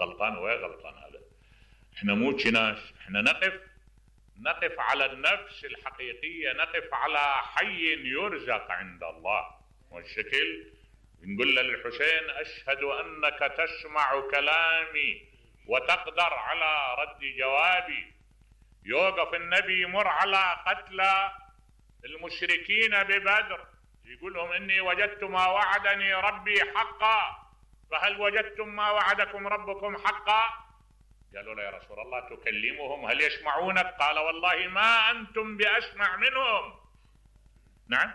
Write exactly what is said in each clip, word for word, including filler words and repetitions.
غلطان ويا غلطان. هذا احنا مو كناش، احنا نقف نقف على النفس الحقيقية، نقف على حي يرزق عند الله. والشكل نقول للحسين أشهد أنك تسمع كلامي وتقدر على رد جوابي. يوقف النبي يمر على قتلى المشركين ببدر يقول لهم إني وجدت ما وعدني ربي حقا، فهل وجدتم ما وعدكم ربكم حقا؟ قالوا له يا رسول الله تكلمهم هل يسمعونك؟ قال والله ما أنتم بأسمع منهم. نعم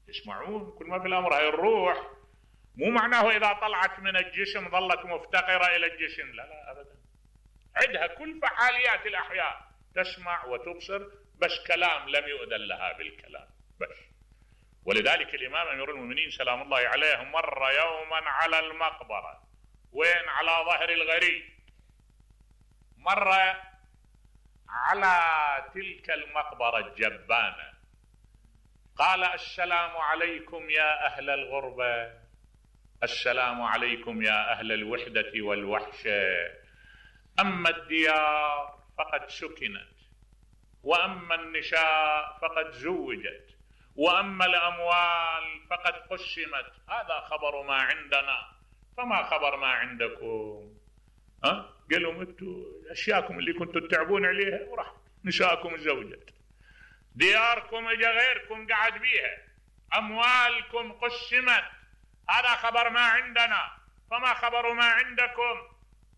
يسمعون، كل ما في الأمر هاي الروح مو معناه إذا طلعت من الجسم ظلت مفتقرة إلى الجسم، لا لا أبدا، عندها كل فعاليات الأحياء، تسمع وتبصر، بس كلام لم يؤذن لها بالكلام بس. ولذلك الإمام أمير المؤمنين سلام الله عليه مر يوما على المقبرة، وين؟ على ظهر الغريب، مر على تلك المقبرة الجبانة، قال السلام عليكم يا أهل الغربة، السلام عليكم يا أهل الوحدة والوحشة، أما الديار فقد سكنت، وأما النساء فقد زوجت، وأما الأموال فقد قسمت، هذا خبر ما عندنا، فما خبر ما عندكم؟ ها؟ قالوا انتوا أشياءكم اللي كنتوا تتعبون عليها وراح، نساءكم زوجت، دياركم اجا غيركم قعد بيها، أموالكم قسمت، هذا خبر ما عندنا، فما خبر ما عندكم؟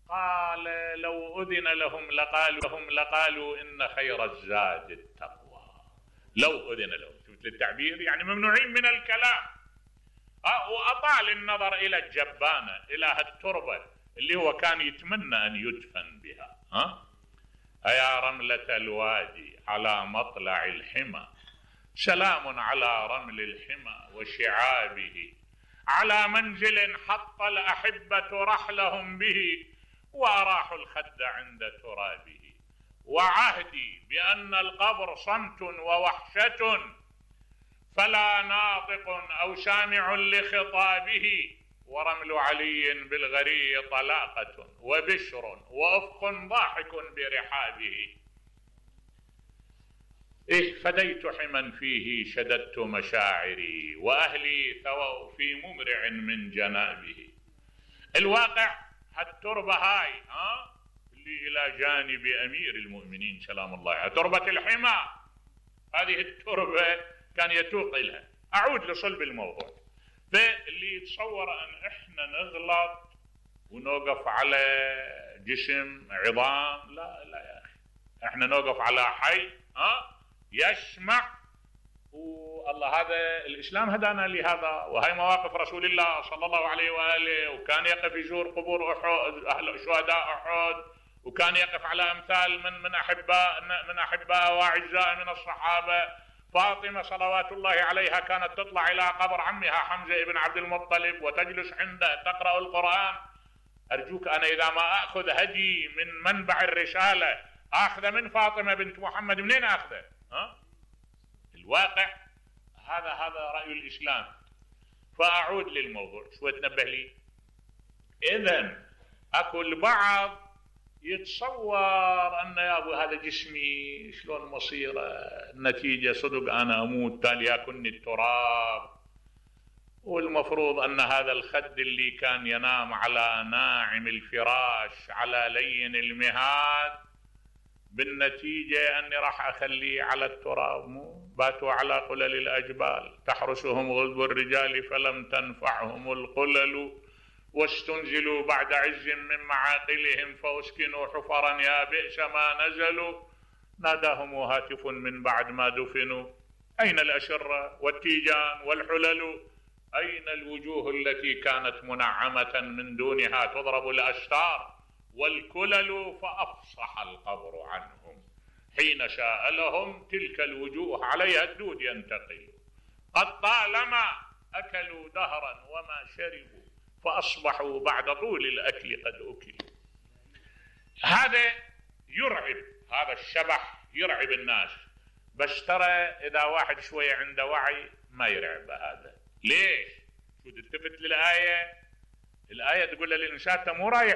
قال لو أذن لهم لقالوا لهم لقالوا إن خير الزاد التقوى. لو أذن لهم، شفت التعبير، يعني ممنوعين من الكلام. أه وأطال النظر إلى الجبانة، إلى هالتربة اللي هو كان يتمنى أن يدفن بها. ها أه؟ يا رملة الوادي على مطلع الحمى، سلام على رمل الحمى وشعابه، على منزل حط الأحبة رحلهم به، وأراحوا الخد عند ترابه، وعهدي بأن القبر صمت ووحشة، فلا ناطق أو سامع لخطابه، ورمل علي بالغري طلاقة، وبشر وأفق ضاحك برحابه. إيه فديت حما فيه شددت مشاعري، وأهلي ثووا في ممرع من جنابه. الواقع هالتربة هاي ها اللي إلى جانب أمير المؤمنين سلام الله عليه، تربة الحمى، هذه التربة كان يتوق لها. أعود لصلب الموضوع، فاللي يتصور أن إحنا نغلط ونوقف على جسم عظام، لا لا يا أخي، إحنا نوقف على حي ها يسمع. والله هذا الإسلام هدانا لهذا، وهي مواقف رسول الله صلى الله عليه وآله، وكان يقف يزور قبور أحد أهل شهداء أحد، وكان يقف على أمثال من من أحباء من أحباء وأعزاء من الصحابة. فاطمة صلوات الله عليها كانت تطلع إلى قبر عمها حمزة ابن عبد المطلب وتجلس عنده تقرأ القرآن. أرجوك أنا إذا ما أخذ هدي من منبع الرسالة أخذ من فاطمة بنت محمد، منين أخذه؟ ها؟ الواقع هذا هذا رأي الإسلام. فأعود للموضوع شوي تنبه لي. إذن أكو البعض يتصور أن يا أبو هذا جسمي شلون مصيره، النتيجة صدق أنا أموت تالي يأكلني التراب، والمفروض أن هذا الخد اللي كان ينام على ناعم الفراش على لين المهاد بالنتيجة أني راح أخليه على التراب. مو باتوا على قلل الأجبال تحرسهم غلب الرجال فلم تنفعهم القلل، واستنزلوا بعد عز من معاقلهم فاسكنوا حفرا يا بئس ما نزلوا، ناداهم هاتف من بعد ما دفنوا أين الأشرة والتيجان والحلل، أين الوجوه التي كانت منعمة من دونها تضرب الأستار والكلل، فأفصح القبر عنهم حين شاء لهم تلك الوجوه عليها الدود ينتقل، قد طالما أكلوا دهرا وما شربوا فأصبحوا بعد طول الأكل قد أكلوا. هذا يرعب، هذا الشبح يرعب الناس، بس ترى إذا واحد شوية عنده وعي ما يرعب هذا. ليش؟ شو تلتفت للآية؟ الآية تقول للإنسان مو رايح